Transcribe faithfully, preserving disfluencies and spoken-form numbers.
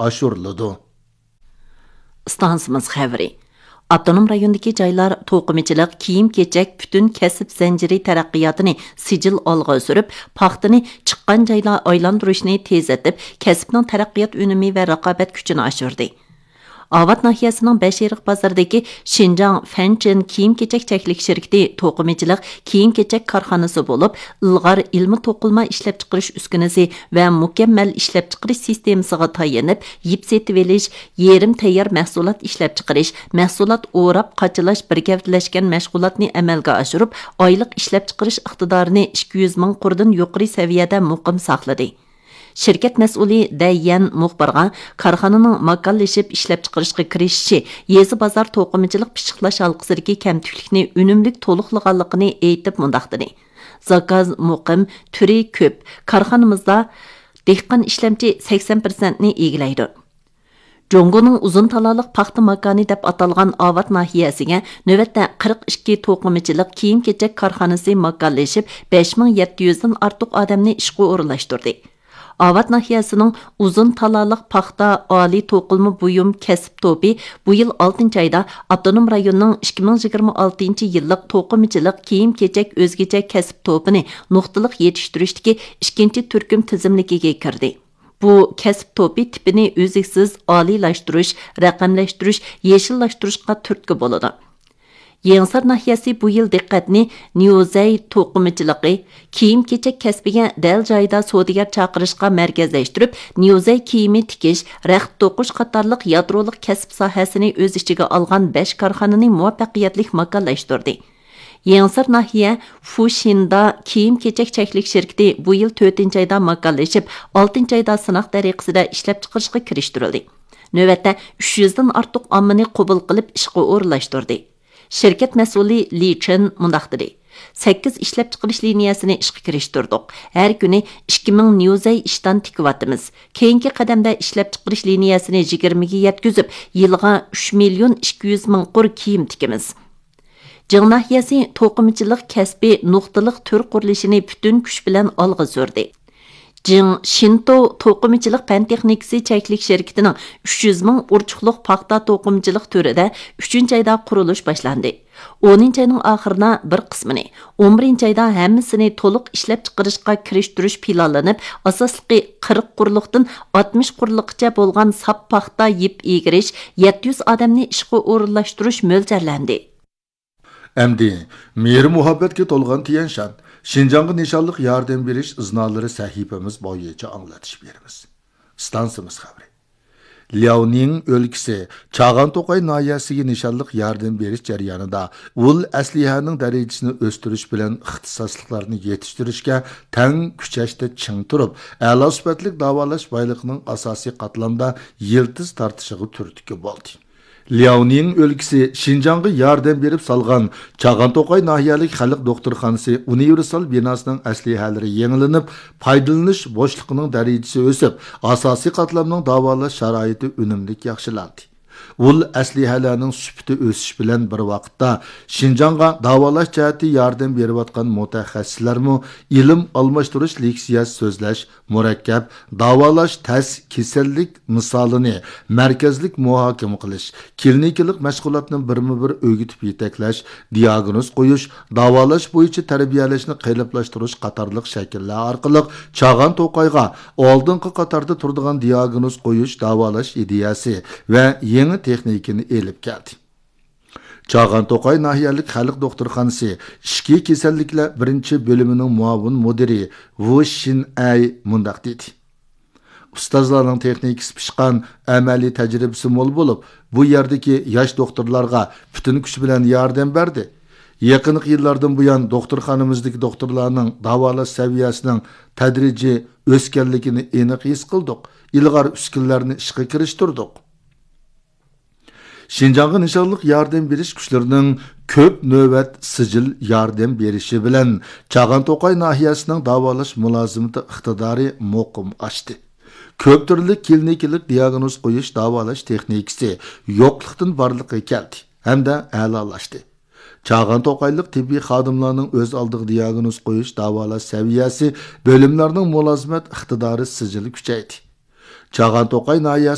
ئاشۇرۇلىدۇ. ئىستانسىمىز خەۋىرى. ئاپتونوم رايوندىكى جايلار توقۇمىچىلىق، كىيىم-كېچەك پۈتۈن كەسىپ زەنجىرى تەرەققىياتىنى سىجىل ئالغا سۈرۈپ، پاختىنى چىققان جايلار ئايلاندۇرۇشنى تېزلىتىپ، كەسىپنىڭ تەرەققىيات ئۈنۈمى ۋە رىقابەت كۈچىنى ئاشۇردى. ئاۋات ناھىيەسىنىڭ بەشئېرىق بازىرىدىكى شىنجاڭ فەنچېن كىيىم-كېچەك چەكلىك شىركىتى توقۇمىچىلىق كىيىم-كېچەك كارخانىسى بولۇپ، ئىلغار ئىلمىي توقۇلما ئىشلەپچىقىرىش ئۈسكۈنىسى ۋە مۇكەممەل ئىشلەپچىقىرىش سىستېمىسىغا تايىنىپ، يىپ سېتىۋېلىش، يېرىم تەييار مەھسۇلات ئىشلەپچىقىرىش، مەھسۇلات ئوراپ قاچىلاش بىر گەۋدىلەشكەن مەشغۇلاتنى ئەمەلگە ئاشۇرۇپ، ئايلىق ئىشلەپچىقىرىش ئىقتىدارىنى ئىككى يۈز مىڭ قۇردىن يۇقىرى سەۋىيەدە مۇقىم ساقلىدى. شىركەت مەسئۇلى دەي يەن مۇخبىرغا كارخانىنىڭ ماكانلىشىپ ئىشلەپچىقىرىشقا كىرىشىشى، يېزا بازار توقۇمىچىلىق پىششىقلاش ھالقىسىدىكى كەمتۈكلۈكنى ئۈنۈملۈك تولۇقلىغانلىقىنى ئېيتىپ مۇنداق دېدى: زاكاز مۇقىم، تۈرى كۆپ، كارخانىمىزدا دېھقان ئىشلەمچى سەكسەن پىرسەنتنى ئىگىلەيدۇ. جۇڭگونىڭ ئۇزۇن تالالىق پاختا ماكانى دەپ ئاتالغان ئاۋات ناھىيەسىگە نۆۋەتتە قىرىق ئىككى توقۇمىچىلىق كىيىم-كېچەك كارخانىسى ماكانلىشىپ، بەش مىڭ يەتتە يۈزدىن ئارتۇق ئادەمنى ئىشقا ئورۇنلاشتۇردى. ئاۋات ناھىيەسىنىڭ ئۇزۇن تالالىق پاختا ئالىي توقۇلما بۇيۇم كەسىپ توپى بۇ يىل ئالتىنچى ئايدا ئاپتونوم رايوننىڭ ئىككى مىڭ يىگىرمە ئالتىنچى يىللىق توقۇمىچىلىق كىيىم-كېچەك ئۆزگىچە كەسىپ توپىنى نۇقتىلىق يېتىشتۈرۈشتىكى ئىككىنچى تۈركۈم تىزىملىكىگە كىردى. بۇ كەسىپ توپى تىپىنى ئۈزلۈكسىز ئالىيلاشتۇرۇش، رەقەملەشتۈرۈش، يېشىللاشتۇرۇشقا تۈرتكە بولىدۇ. يېڭىسار ناھىيەسى بۇ يىل دىققەتنى نيۇزەي توقۇمىچىلىقى، كىيىم-كېچەك كەسپىگە دەل جايىدا سودىگەر چاقىرىشقا مەركەزلەشتۈرۈپ، نيۇزەي كىيىمى تىكىش، رەخت توقۇش قاتارلىق يادرولۇق كەسىپ ساھەسىنى ئۆز ئىچىگە ئالغان بەش كارخانىنى مۇۋەپپەقىيەتلىك ماكانلاشتۇردى. يېڭىسار ناھىيە فۇشىندا كىيىم-كېچەك چەكلىك شىركىتى بۇ يىل تۆتىنچى ئايدا ماكانلىشىپ، ئالتىنچى ئايدا سىناق تەرىقىسىدە ئىشلەپچىقىرىشقا كىرىشتۈرۈلدى. نۆۋەتتە ئۈچ يۈزدىن ئارتۇق ئاممىنى قوبۇل قىلىپ ئىشقا ئورۇنلاشتۇردى. شىركەت مەسئۇلى لى چېن مۇنداق دېدى: سەككىز ئىشلەپچىقىرىش لىنىيەسىنى ئىشقا كىرىشتۈردۇق. ھەر كۈنى ئىككى مىڭ نيۇزەي ئىشتان تىكىۋاتىمىز. كېيىنكى قەدەمدە ئىشلەپچىقىرىش لىنىيەسىنى يىگىرمىگە يەتكۈزۈپ، يىلىغا ئۈچ مىليون ئىككى يۈز مىڭ قۇر كىيىم تىكىمىز. جىڭ ناھىيەسى توقۇمىچىلىق كەسپى نۇقتىلىق تۈر قۇرۇلۇشىنى پۈتۈن كۈچ بىلەن ئالغا سۈردى. جىڭ شىنتو توقۇمىچىلىق پەن تېخنىكىسى چەكلىك شىركىتىنىڭ ئۈچ يۈز مىڭ ئۇرچۇقلۇق پاختا توقۇمىچىلىق تۈرىدە ئۈچىنچى ئايدا قۇرۇلۇش باشلاندى. ئونىنچى ئاينىڭ ئاخىرىدا بىر قىسمىنى، ئون بىرىنچى ئايدا ھەممىسىنى تولۇق ئىشلەپچىقىرىشقا كىرىشتۈرۈش پىلانلىنىپ، ئاساسلىقى قىرىق قۇرلۇقتىن ئاتمىش قۇرلۇققىچە بولغان ساپ پاختا يىپ ئىگىرىش، يەتتە يۈز ئادەمنى ئىشقا ئورۇنلاشتۇرۇش مۆلچەرلەندى. ئەمدى مېھرى مۇھەببەتكە تولغان تيەنشان، شىنجاڭغا نىشانلىق ياردەم بېرىش ئىزنالىرى سەھىپىمىز بويىچە ئاڭلىتىش بېرىمىز. ئىستانسىمىز خەۋىرى. لياۋنىڭ ئۆلكىسى چاغان توقاي ناھىيەسىگە نىشانلىق ياردەم بېرىش جەريانىدا ئۇل ئەسلىھەنىڭ دەرىجىسىنى ئۆستۈرۈش بىلەن ئىختىساسلىقلارنى يېتىشتۈرۈشكە تەڭ كۈچەشتە چىڭ تۇرۇپ، ئەلا سۈپەتلىك داۋالاش بايلىقىنىڭ ئاساسىي قاتلامدا يىلتىز تارتىشىغا تۈرتكە بولدى. لياۋنىڭ ئۆلكىسى شىنجاڭغا ياردەم بېرىپ سالغان چاغان توقاي ناھىيەلىك خەلق دوختۇرخانىسى ئۇنىۋېرسال بىناسىنىڭ ئەسلىھەلىرى يېڭىلىنىپ، پايدىلىنىش بوشلۇقىنىڭ دەرىجىسى ئۆسۈپ، ئاساسىي قاتلامنىڭ داۋالاش شارائىتى ئۈنۈملۈك ياخشىلاندى. ئۇل ئەسلىھەلەرنىڭ سۈپىتى ئۆسۈش بىلەن بىر ۋاقىتتا، شىنجاڭغا داۋالاش جەھەتتە ياردەم بېرىۋاتقان مۇتەخەسسىسلەرمۇ ئىلىم ئالماشتۇرۇش، لېكسىيە سۆزلەش، مۇرەككەپ داۋالاش، تەس كېسەللىك مىسالىنى مەركەزلىك مۇھاكىمە قىلىش، كلىنىكىلىق مەشغۇلاتنى بىرمۇ بىر ئۆگىتىپ يېتەكلەش، دىياگنوز قويۇش، داۋالاش بويىچە تەربىيەلەشنى قېلىپلاشتۇرۇش قاتارلىق شەكىللەر ئارقىلىق چاغان توقايغا ئالدىنقى قاتاردا تۇرىدىغان دىياگنوز قويۇش، داۋالاش ئىدىيەسى ۋە يېڭى تېخنىكىنى ئېلىپ كەلدى. چاغان توقاي ناھىيەلىك خەلق دوختۇرخانىسى ئىچكى كېسەللىكلەر بىرىنچى بۆلۈمىنىڭ مۇئاۋىن مۇدىرى ۋۇ شىن ئەي مۇنداق دېدى: ئۇستازلارنىڭ تېخنىكىسى پىشقان، ئەمەلىي تەجرىبىسى مول بولۇپ، بۇ يەردىكى ياش دوختۇرلارغا پۈتۈن كۈچ بىلەن ياردەم بەردى. يېقىنقى يىللاردىن بۇيان، دوختۇرخانىمىزدىكى دوختۇرلارنىڭ داۋالاش سەۋىيەسىنىڭ تەدرىجىي ئۆسكەنلىكىنى ئېنىق ھېس قىلدۇق، ئىلغار ئۈسكۈنىلەرنى ئىشقا كىرىشتۈردۇق. شىنجاڭغا نىشانلىق ياردەم بېرىش كۈچلىرىنىڭ كۆپ نۆۋەت سىجىل ياردەم بېرىشى بىلەن، چاغان توقاي ناھىيەسىنىڭ داۋالاش مۇلازىمىتى ئىقتىدارى مۇقىم ئاشتى. كۆپ تۈرلۈك كلىنىكىلىق دىياگنوز قويۇش، داۋالاش تېخنىكىسى يوقلۇقتىن بارلىققا كەلدى ھەمدە ئەلالاشتى. چاغان توقايلىق تېببىي خادىملارنىڭ ئۆز ئالدىغا دىياگنوز قويۇش، داۋالاش سەۋىيەسى، بۆلۈملەرنىڭ مۇلازىمەت ئىقتىدارى سىجىل كۈچەيدى. چاغان توقاي ناھىيەسى